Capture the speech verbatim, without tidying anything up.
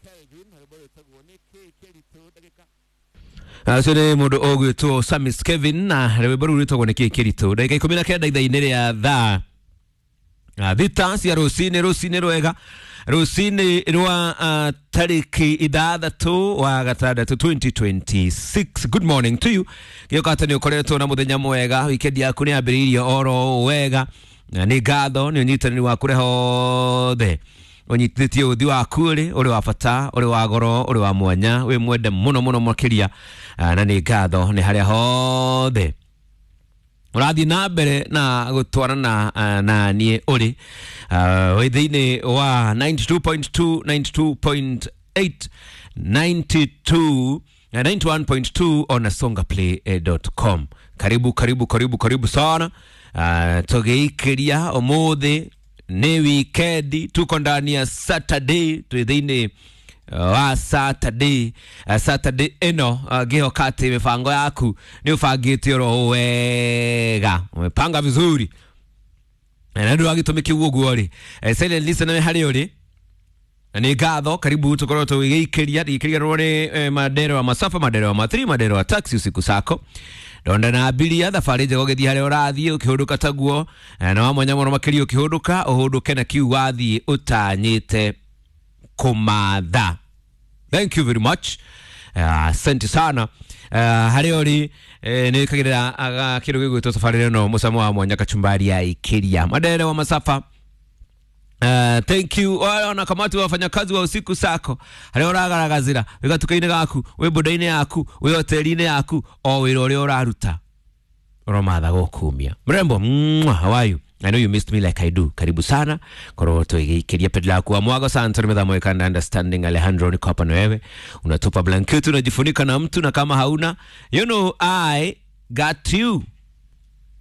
Kelvin rwĩmbo rwĩtagwo nĩkĩ kĩritũ ndagĩka Acio nĩ mũndũ ũgwĩtwo Samis Kevin na rwĩmbo rũu rwĩtagwo nĩkĩ kĩritũ. Ndagĩka ikũmi na kenda ithaa-inĩ rĩa thaa ah, thita cia rũcinĩ, rũcinĩ rwega, rũcinĩ rwa uh, tarĩki ithathatũ wa gatandatũ twenty twenty-six. Good morning to you. Gĩũka atĩ nĩ ũkoretwo na mũthenya mwega, weekend yaku nĩ yambĩrĩirie oro wega, na nĩ ngatho nĩ ũnyitanĩri waku ũrĩa hothe ũnyitithĩtie ũthi waku rĩ ũrĩ wa bata, ũrĩ wa goro, ũrĩ wa mwanya, wĩ mwende mũno mũno makĩria. Ah, na nĩ ngatho nĩ harĩa hothe ũrathiĩ na mbere na gũtwarana ah, na niĩ ũrĩ uh, wĩ thĩinĩ wa ninety-two point two, ninety-two point eight, ninety-two na ninety-one point two ona songaplay dot com. Karibu, karibu, karibu, karibu sana. uh, tũgĩikĩria ũmũthĩ nĩ wikendi, tuko ndani ya Saturday, twĩ thĩinĩ wa Saturday, uh, Saturday ĩno uh, ngĩhoka atĩ mĩbango yaku nĩ ũbangĩte oro wega, umepanga vizuri, na nĩ wa gĩtũmi kĩu ũguo rĩ eh, silent listener harĩ ũrĩ na nĩ ngatho, karibu tukorwo tũgĩikĩria gĩikĩria nĩ eh, mandero wa masafa, mandero wa matri, mandero wa taxi usiku sako ndonda na abiria thabarĩ njega ũgĩthiĩ harĩa ũrathiĩ ũkĩhũndũka taguo, eh, na wa mwanya mũno makĩria ũkĩhũndũka ũhũndũke na kiu wathiĩ ũtanyĩte kũmatha. Thank you very much. Asante sana uh, harĩa ũrĩ eh, nĩ kagĩrĩra kĩndũ gĩgwĩtwo tabarĩra ĩno mũcamo wa mwanya, kachumbari ya ikĩria mandere wa masafa. Uh, thank you ona kamati wa wafanyakazi wa usiku sako harĩa ũragaragazĩra wĩ gatuka-inĩ gaku, wĩ boda-inĩ yaku, wĩ hoteli-inĩ yaku, o wĩra ũrĩa ũraruta ũromatha gũkumia mrembo. Mwah, how are you? I know you missed me like I do. Karibu sana korwo tũgĩikĩria pedla yaku wa mwago sana methamo ikanda understanding. Alejandro, niko hapa na wewe, unatupa blanketi unajifunika na mtu, na kama hauna, you know I got you.